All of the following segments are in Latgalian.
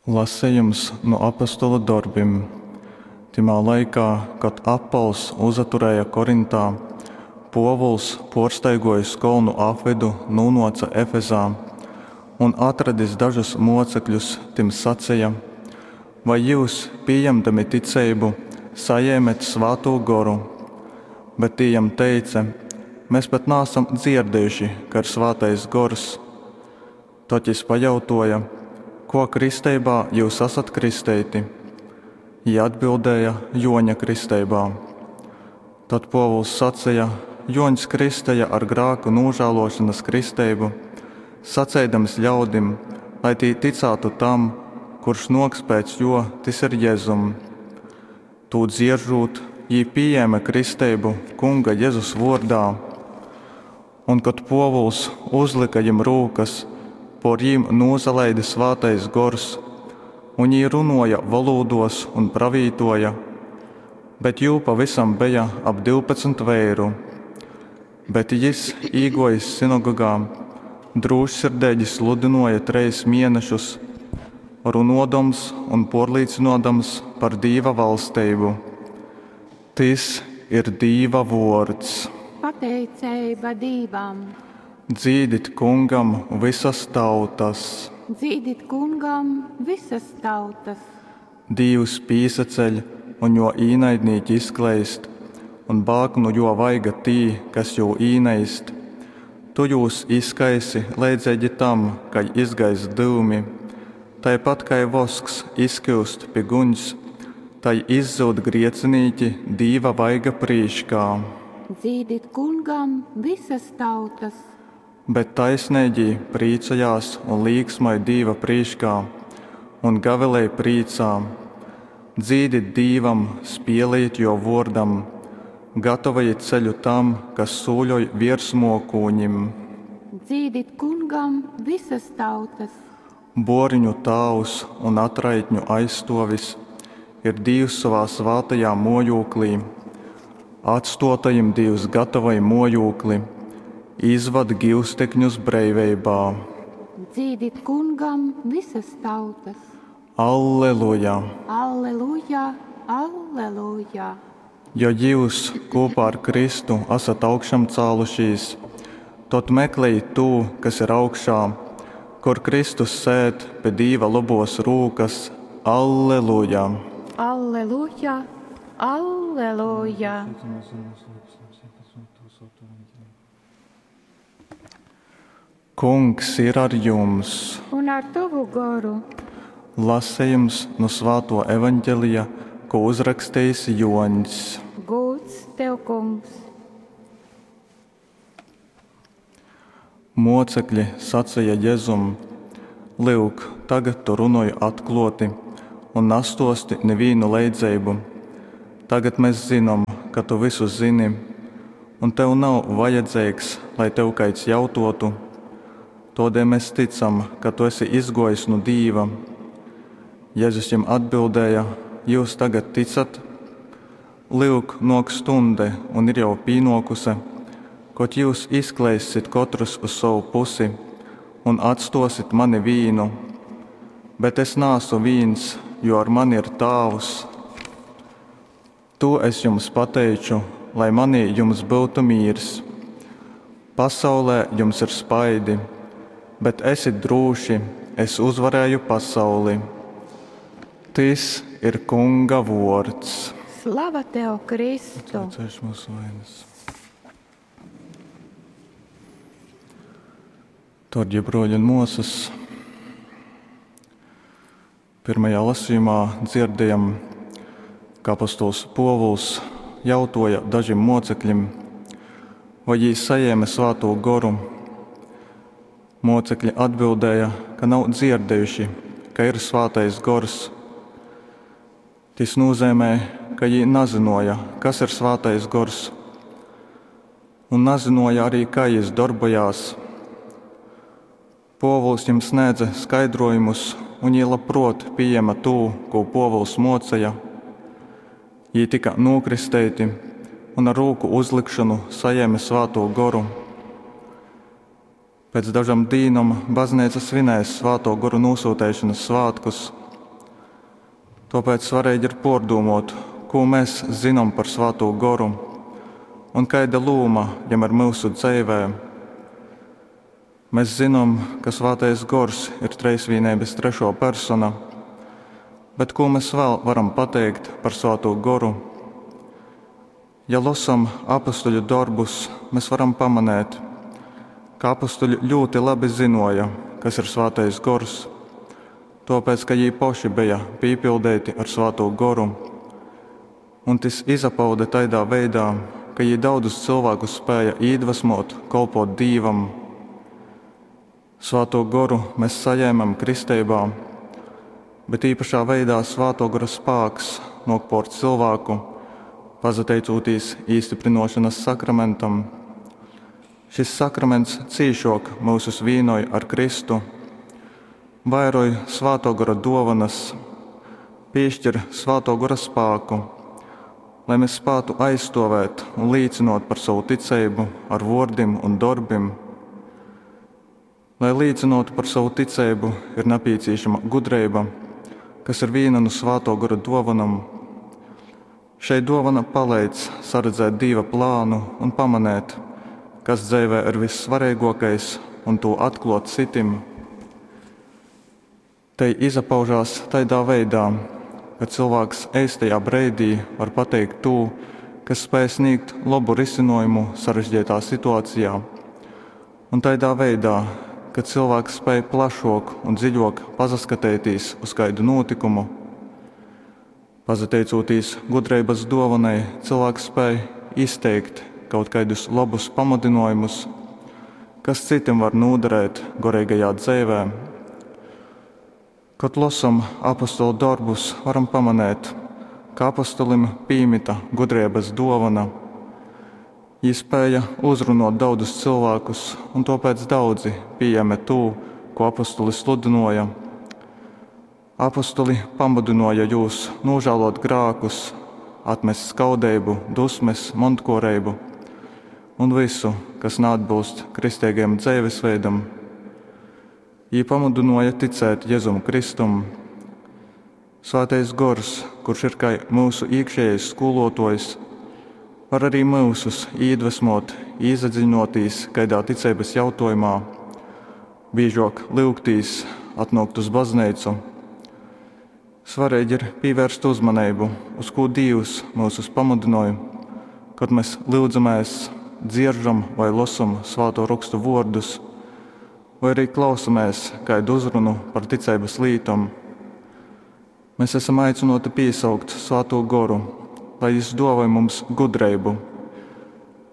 Lasejums nu Apostolu dorbim. Tymā laikā, kad Appols uzaturēja Korintā, Pōvuls, pōrstaigōjis kolnu apvydu, nūnōce Efezā. Un, atradis dažus mōcekļus, tim saceja, Vai jyus, pījemdami ticeibu, sajēmet Svātū Goru? Bet tī jam teice, Mes pat naasam dzierdejuši, ka ir Svātais Gors. Tod jys pajautōja, Kō kristeibā jyus asat kristeiti? Jī atbildēja, Jōņa kristeibā. Tod Pōvuls saceja, Jōņs kristeja ar grāku nūžālōšonas kristeibu, saceidams ļaudim, lai tī tycātu tam, kurš nōks pēc jō, tys ir Jezum. Tū dzieržūt, jī pījēme kristeibu Kunga Jezus vōrdā. Un, kod Pōvuls uzlyka jim rūkas, pōr jīm nūsalaide Svātais Gors, un jī runōja volūdōs un pravītōja. Bet jū pavysam beja ap 12 veiru. Bet jys, īgōjis synagogā, drūšsirdeigi sludynōja trejs mēnešus, runōdams un pōrlīcynōdams par Dīva valsteibu. Tys ir Dīva vōrds. Pateiceiba Dīvam. Dzīdit Kungam vysas tautas! Dzīdit Kungam vysas tautas! Dīvs pīsaceļ, un jō īnaidnīki izkleist, un bāg nu jō vaiga tī, kas jū īneist. Tu jūs izkaisi leidzeigi tam, kai izgaist dyumi, taipat kai vosks izkyust pi guņs, tai izzyud griecinīki Dīva vaiga prīškā. Dzīdit Kungam vysas tautas! Bet taisneigī prīcojās un līksmoj Dīva prīškā un gavilej prīcā. Dzīdit Dīvam, spielejit jō vōrdam, gatavojit ceļu tam, kas sūļoj viers mōkūņim. Dzīdit Kungam vysas tautas! Bōriņu tāvs un atraitņu aizstōvis ir Dīvs sovā svātajā mōjūklī. Atstōtajim Dīvs gatavoj mōjūkli, izvad gyustekņus breiveibā. Dzīdit Kungam vysas tautas! Alleluja! Alleluja! Alleluja! Jo jyus kūpā ar Kristu asat augšamcālušīs, tod meklejit tū, kas ir augšā, kur Kristus sēd pi Dīva lobōs rūkas. Alleluja! Alleluja! Alleluja! Kungs ir ar jums! Un ar tovu goru! Lasejums nu Svātō Evangelija, ko uzrakstījis Jōņs. Gūds tev, Kungs! Mōcekļi saceja Jezum: Lyuk, tagad tu runoj atklōti un nastōsti nivīnu leidzeibu. Tagad mes zynom, ka tu vysu zyni, un tev nav vajadzeigs, lai tev kaids jautōtu. Tōdēļ mes tycam, ka tu esi izgōjis nu Dīva. Jezus jim atbildēja: Jyus tagad ticat? Lyuk, nōk stunde un ir jau pīnōkuse, kod jyus izkleissit kotrys uz sovu pusi un atstōsit mani vīnu. Bet es naasu vīns, jo ar mani ir Tāvs. Tū es jums pateiču, lai manī jums byutu mīrs. Pasaulē jums ir spaidi, bet esit drūši, es uzvarēju pasauli. Tys ir Kunga vōrds. Slava tev, Kristu! Atlaicēšu mūsu vainas. Dārgie broļi un māsas, pirmajā lasījumā dzirdējam, ka apostols Pōvuls jautoja dažim mocekļim, vai jī sajēma Svātū Goru. Mocekļi atbildēja, ka nav dzirdējuši, ka ir Svātais Gors. Tys nozīmē, ka jī nezināja, kas ir Svātais Gors, un nezināja arī, kā jis darbojās. Pōvuls jim sniedza skaidrojumus, un jī labprot pieņēma to, ko Pōvuls mocīja. Jī tika nokristeiti un ar rūku uzlikšanu sajēma Svātū Goru. Pēc dažām dīnom baznīca svinēs Svātō Gora nosūtēšanas svētkus. Tōpēc svareigi ir pōrdūmōt, kū mes zynom par Svātū Goru un kaida lūma Jam ir myusu dzeivē. Mes zynom, ka Svātais Gors ir Trejsvīneibas trešō persona. Bet kū mes vēl varam pateikt par Svātū Goru? Ja losam Apostuļu dorbus, mes varam pamanēt, ka apostuļi ļūti labi zynōja, kas ir Svātais Gors, tōpēc, ka jī poši beja pīpildeiti ar Svātū Goru. Un tys izapaude taidā veidā, ka jī daudzus cylvākus spēja īdvasmōt kolpōt Dīvam. Svātū Goru mes sajēmam kristeibā, bet īpašā veidā Svātō Gora spāks nōk pōr cylvāku, pasateicūtīs īstyprynōšonas sakramentam. Šis sakraments cīšōk myusus vīnoj ar Kristu, vairoj Svātō Gora dōvonas, pīškir Svātō Gora spāku, lai mes spātu aizstovēt un līcynot par sovu ticeibu ar vōrdim un dorbim. Lai līcynōtu par sovu ticeibu, ir napīcīšama gudreiba, kas ir vīna nu Svātō Gora dōvonom. Šei dōvona paleidz saredzēt Dīva plānu un pamanēt, kas dzeivē ir vissvareigōkais, un tū atklōt citim. Tei izapaužās taidā veidā, ka cylvāks eistajā breidī var pateikt tū, kas spēj sniegt lobu risinājumu sarežģītā situācijā. Un taidā veidā, ka cilvēks spēj plašok un dziļok pasaskateitīs uz kaidu nūtikumu. Pasateicūtīs gudreibas dōvonai, cilvēks spēj izteikt kaut kaidus lobus pamudinājumus, kas citim var nūderēt goreigajā dzeivē. Kod losom apostolu dorbus, varam pamanēt, ka apostolim pīmita gudrības dōvona. Jī spēja uzrunot daudzus cilvēkus, un tāpēc daudzi pieņēma to, ko apostoli sludināja. Apostoli pamudināja jūs nožēlot grākus, atmest skaudību, dusmes, montkoreibu un visu, kas neatbilst kristīgajam dzīvesveidam. Jī pamudināja ticēt Jēzum Kristum. Svētais Gors, kurš ir kā mūsu iekšējais skolotājs, var arī mūsus iedvesmot, iedziļinoties kādā ticības jautājumā, biežāk lūgtīs, atnākt uz baznīcu. Svarīgi ir pievērst uzmanību, uz ko Dievs mūsus pamudināja, kad mēs lūdzamies, dzieržam vai lasam svēto rakstu vārdus, vai arī klausamies kādu uzrunu par ticības lītom. Mēs esam aicināti piesaukt Svēto Goru, lai Jis dāvāj mums gudrību,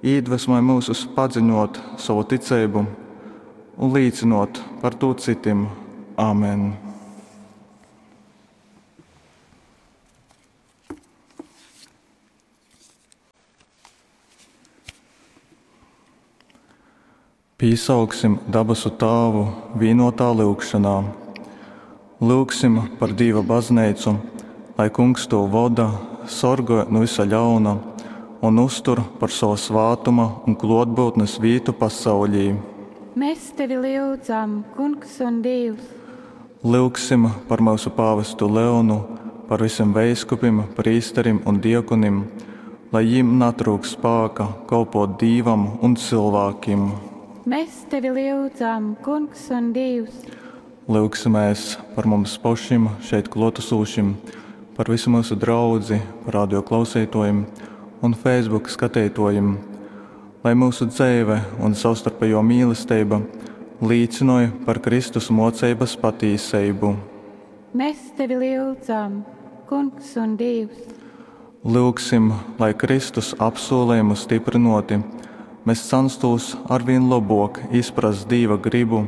iedvesmoj mūsus padziļinot savu ticību un līcinot par to citim. Āmen! Pīsauksim dabasu Tāvu vīnotā lyugšanā. Lyugsim par Dīva baznīcu, lai Kungs to voda, sorgoj no visa ļauna un uztur par sava svātuma un klotbūtnes vītu pasaulī. Mēs tevi lyudzam, Kungs un Dievs. Lyugsim par mūsu pāvestu Leonu, par visiem veiskupim, prīsterim un diekonim, lai jiem natrūk spāka kalpot Dīvam un cilvēkiem. Mēs tevi lyudzam, Kungs un Dievs. Lyugsimies par mums pašiem šeit klātesošiem, par visu mūsu draudzi, par radio klausītājiem un Facebook skatītājiem, lai mūsu dzīve un savstarpējo mīlestība līdzinoja par Kristus mocības patīsību. Mēs tevi lyudzam, Kungs un Dievs. Lūgsim, lai Kristus apsolījumu stiprinoti, mēs censtos arvien labāk izprast Dieva gribu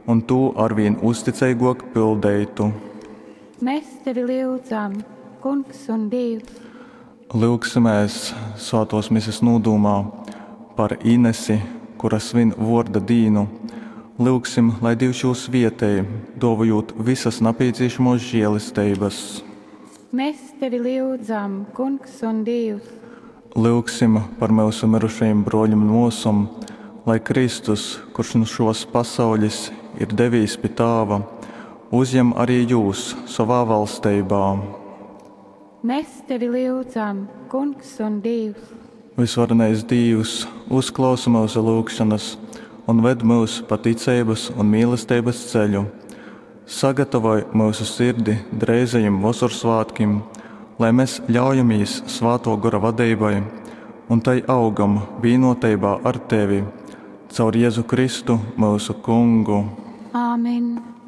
un to arvien uzticīgāk pildītu. Mēs tevi lyudzam, Kungs un Dievs. Lūgsimies Svētos mises nūdūmā par Inesi, kura svin vorda dīnu. Lūgsim, lai Dievs jūs vietēji, dovojot visas nepieciešamos žēlestības. Mēs tevi lyudzam, Kungs un Dievs. Lūgsim par mūsu mirušajiem broļiem un mūsam, lai Kristus, kurš nu šos pasaules ir devīs pie Tāva, uzņem arī jūs savā valstībā. Mes tevi lyudzam, Kungs un Dīvs! Vysvarenais Dīvs, uzklausi myusu lyugšonas un ved myus pa ticeibas un mīlesteibas ceļu. Sagatavoj myusu sirdi dreizajim Vosorsvātkim, lai mes ļaujamīs Svātō Gora vadeibai un tai augam vīnōteibā ar Tevi. Caur Jezu Kristu, myusu Kungu. Amen.